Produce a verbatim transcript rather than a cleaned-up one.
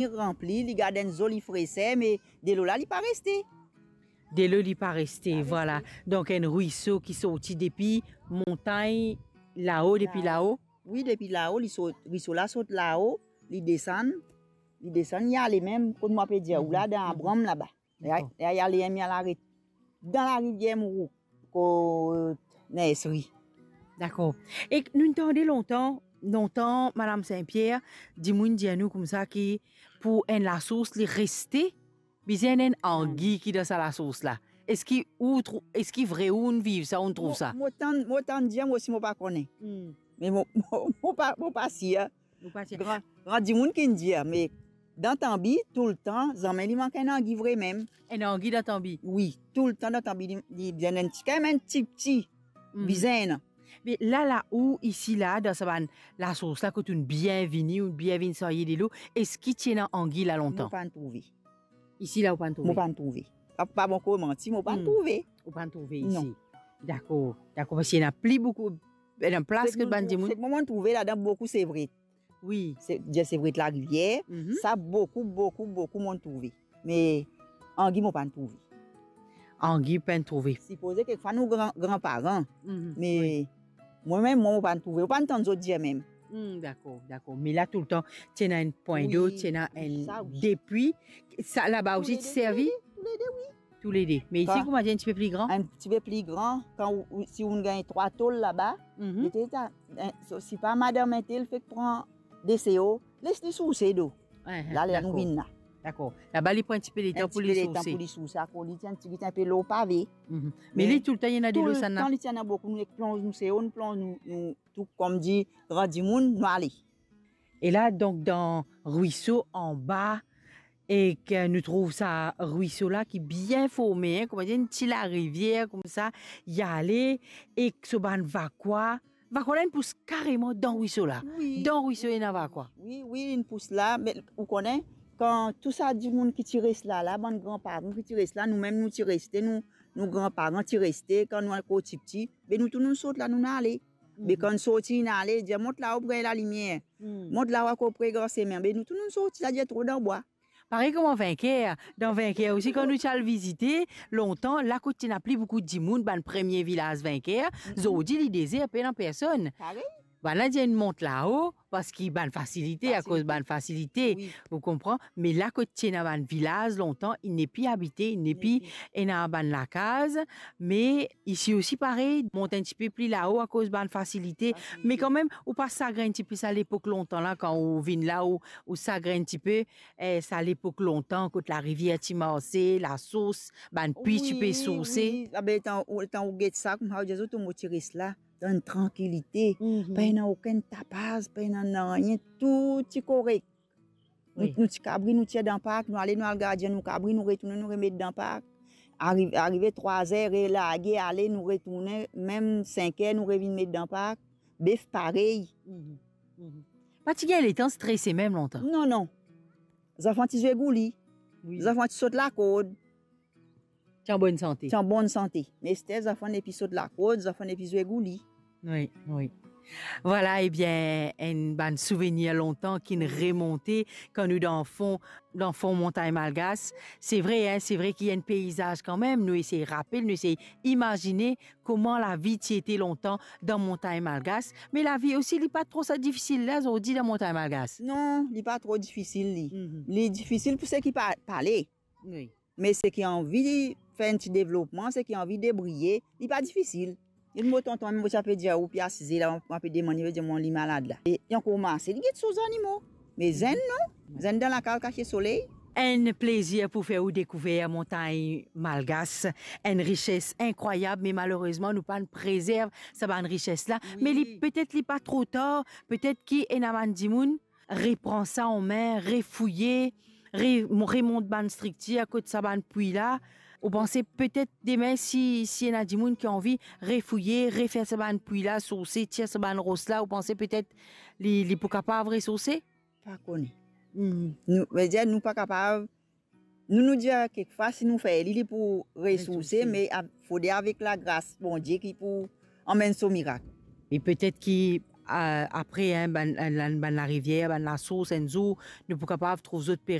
Li ranpli, li gard enn zoli freser, me delo la, li pa reste. Delo, li pa reste, vwala. Donk, enn rwiso ki sorti depi montagn lao, depi lao. Wi, depi lao, li sort, rwiso la sort lao, li desann, li desann, li ale mem, kot mo pe dir ou la, dan labranm laba. Li a-, li ale, li al aret dan larivier Mourouk, kot Nesri. Dakor. E nou tande lontan, lontan, Madam Saint-Pierre, dimoun dir nou koumsa ki pou enn lasos li reste, bizin enn angi ki dan sa lasos la. Eski ou trou-, eski vre ou'nn viv sa, ou'nn trouv sa? Mo, mo tann, mo tann dir, mo osi mo pa kone. Me mo, mo, mo pa, mo pa sir. Ou pa sir. Gran, gran dimoun ki'nn dir, me dan tanbi, toultan, zame li mank enn angi vre mem. Enn angi dan tanbi? Wi, toultan dan tanbi, li, li bizin enn ti, kanmem enn tipti. Bizin. Me la, la ou isi la, dan sa bann lasos la, kot ou'nn bien vini, ou'nn bien vinn sarye delo, eski ti ena angi la lontan? Mo pa'nn trouve. Isi la, ou pa'nn trouve? Mo pa'nn trouve. Pa, pa bon koz manti, mo pa'nn trouve. Ou pa'nn trouve isi? Non. Dakor, dakor, parski ena pli boukou, ena plas kot bann dimoun. Sek mo'nn trouve ladan boukou sevret. Wi. Se, dir sevret larivier, sa boukou, boukou, boukou mo'nn trouve. Me angi, mo pa'nn trouve. Angi, pa'nn trouve. Sipoze kekfwa nou gran, granparan. Me mwa mem, mwa, mo pa'nn trouve, mo pa'nn tann zot dir mem. Hmm, dakor, dakor. Me la toultan, ti ena enn pwin dlo, ti ena enn, depi, sa laba osi ti servi? Toulede, toulede, wi. Toulede. Me isi, kouma dir, enn tipe pli gran? Enn tipe pli gran, kan ou, ou, si ou'nn gagn trwa tol laba, li te, ta, enn, so, si pa madam entel fek pran de seo, les li souse do. La, ler nou vinn la. Dakor. Laba, li pran enn tipe letan pou li souse. Enn tipe letan pou li souse, akoz li ti enn ti, ti enn pe lor pave. Me li toultan, li ena delo sa la? Toultan, li ti ena boukou, nou ek plonz nou seo, nou plonz nou, nou tou, kouma dir, gran dimoun, nou ale. E la, donk, dan rwiso anba, ek nou trouv sa rwiso la ki bien forme, hein, kouma dir, enn ti larivier koumsa, li ale, ek so bann vakwa, vakwa la inn pous kareman dan rwiso la. Wi. Dan rwiso ena vakwa. Wi, wi, inn pous la, me ou kone, kan tou sa dimoun ki ti res la, la, bann granparan ki ti res la, nou mem nou ti reste, nou, nou granparan ti reste, kan nou ankor tipti, be nou tou nou sort la, nou ale. Be kan sorti, nou ale, dir, "Mont lao pre lalimier. Mont lao akoz pre gran semin." Be nou tou nou sorti, sa dir tro dan bwa. Parey kouma Vinker, dan Vinker osi, kan nou ti al vizite, lontan, la kot ti ena pli boukou dimoun, bann premie vilaz Vinker, zordi li dezer, pena personn. Parey. Bann la dir inn mont lao, parski bann fasilite, akoz bann fasilite, ou konpran? Me la kot ti ena bann vilaz lontan, inn nepli abite, inn nepli ena bann lakaz, me isi osi parey, mont enn tipe pli lao akoz bann fasilite. Me kanmem, ou pa sagrin tipe sa lepok lontan la, kan ou vinn la, ou, ou sagrin tipe, eh, sa lepok lontan, kot larivier ti marse, lasours, bann pwi ti pe sourse. Wi, wi. Abe, letan ou, letan ou get sa, kouma ou dir, zot mo ti res la, dan enn trankilite, pa ena okenn tapaz, pa ena nanye, tou ti korek. Nou, nou ti kabri, nou tir dan park, nou ale, nou al gardien nou kabri, nou retourne, nou remet dan park. Arive, arive trwa zer, relage, ale, nou retourne, mem sink er, nou revinn met dan park. Bef parey. Pa ti gagn letan strese mem lontan. Non, non. Zanfan ti zwe gouli. Wi. Zanfan ti sot lakord. Ti an bonn sante. Ti an bonn sante. Me ester zanfan nepli sot lakord, zanfan nepli zwe gouli. Wi, wi. Vwala, ebien, enn bann souvenir lontan ki'nn remonte kan nou dan fon, dan fon Montagn Malgas. Se vre, hein, se vre ki enn peizaz kanmem, nou esey rapel, nou esey imazine kouma lavi ti ete lontan dan Montagn Malgas. Me lavi osi, li pa tro sa difisil la, zordi dan Montagn Malgas. Non, li pa tro difisil, li. Li difisil pou seki pa, pale. Wi. Me seki anvi fer enn ti devlopman, seki anvi debriye, li pa difisil. Enn mo tonton, mo ti pe dir ou, pe asize la, mo pe demann li, pe dir mwa li malad la. E li ankor marse, li get so zanimo. Me zenn non, zenn dan lakaz kasiet soley. Enn plezir pou fer ou dekouver Montagn Malgas, enn rises inkrwayab, me malerezman nou pa'nn prezerv sa bann rises la. Wi. Me li, petet li pa tro tar, petet ki ena bann dimoun repran sa an me, refouye, re-, remont bann striktir kot sa bann pwi la. Ou panse petet demin si, si ena dimoun ki anvi refouye, refer sa bann pwi la, sourse, tir sa bann ros la, ou panse petet li, li pou kapav resourse? Pa kone. Nou, vedir nou pa kapav Nou, nou dir kekfwa, si nou fer li, li pou resourse, me a-, fode avek lagras Bondie ki pou anmenn so mirak. E petet ki a, apre, hein, bann, bann, bann larivier, bann lasours, enn zour, nou pou kapav trouv zot pe